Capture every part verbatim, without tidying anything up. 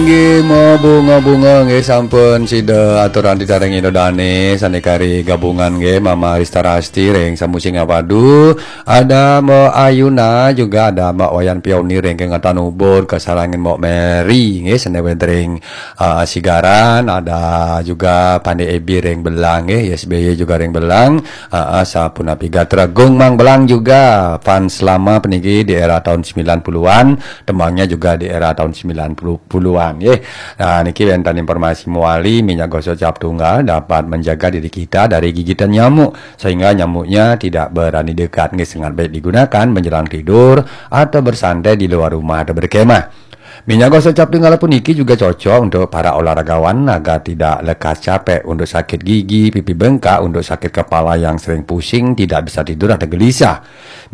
Nggih, mabunga-bunga nggih, sampun sida aturan ditaringi Ida Dane, sane kari gabungan nggih, Mama Rista Rasti ring Samusi Ngapadu, ada Mbok Ayuna, juga ada Mbok Wayan Pioni ring Kengatan Ubud, kasarengin Mbok Mary nggih, sane wenten ring, eh, Sigaran, ada juga Pande Ebi ring Belang nggih, Y S B Y juga ring Belang, eh, eh, sapunapi gatra Gung Mang Belang juga, fans lama puniki di era tahun sembilan puluhan, tembangnya juga di era tahun sembilan puluhan nggih. Nah, niki wenten informasi mawali, minyak gosok cap tunggal dapat menjaga diri kita dari gigitan nyamuk, sehingga nyamuknya tidak berani dekat nggih, sangat baik digunakan menjelang tidur atau bersantai di luar rumah atau berkemah. Minyak gosok cap tunggal puniki juga cocok untuk para olahragawan agar tidak lekas capek, untuk sakit gigi, pipi bengkak, untuk sakit kepala yang sering pusing, tidak bisa tidur atau gelisah.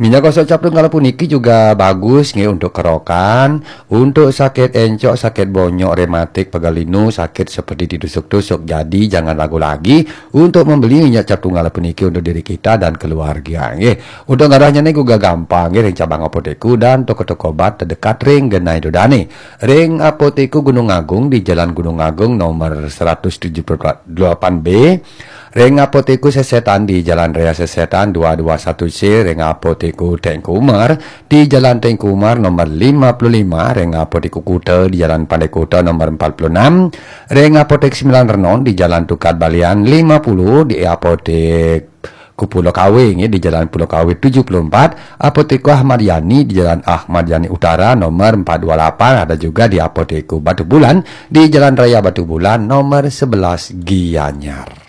Minyak gosok cap tunggal puniki juga bagus nggih untuk kerokan, untuk sakit encok, sakit bonyok, rematik, pegal linu, sakit seperti ditusuk-tusuk. Jadi jangan ragu lagi untuk membeli minyak cap tunggal puniki untuk diri kita dan keluarga nggih. Untuk ngarahnya niku gampang nggih, ring cabang apotek dan toko-toko obat terdekat ring genah Ida Dane. Ring Apotek Gunung Agung di Jalan Gunung Agung nomor seratus tujuh puluh delapan B, ring Apotek Sesetan di Jalan Raya Sesetan dua dua satu C, ring Apotek Teuku Umar di Jalan Teuku Umar nomor lima puluh lima, ring Apotek Kuta di Jalan Pandai Kuta nomor empat puluh enam, ring Apotek Sembilan Renon di Jalan Tukad Balian lima puluh, di Apotek Pulau Kawe nggih, di Jalan Pulau Kawe tujuh puluh empat, Apotek Ahmad Yani di Jalan Ahmad Yani Utara nomor empat dua lapan, ada juga di Apotek Batu Bulan di Jalan Raya Batu Bulan nomor sebelas Gianyar.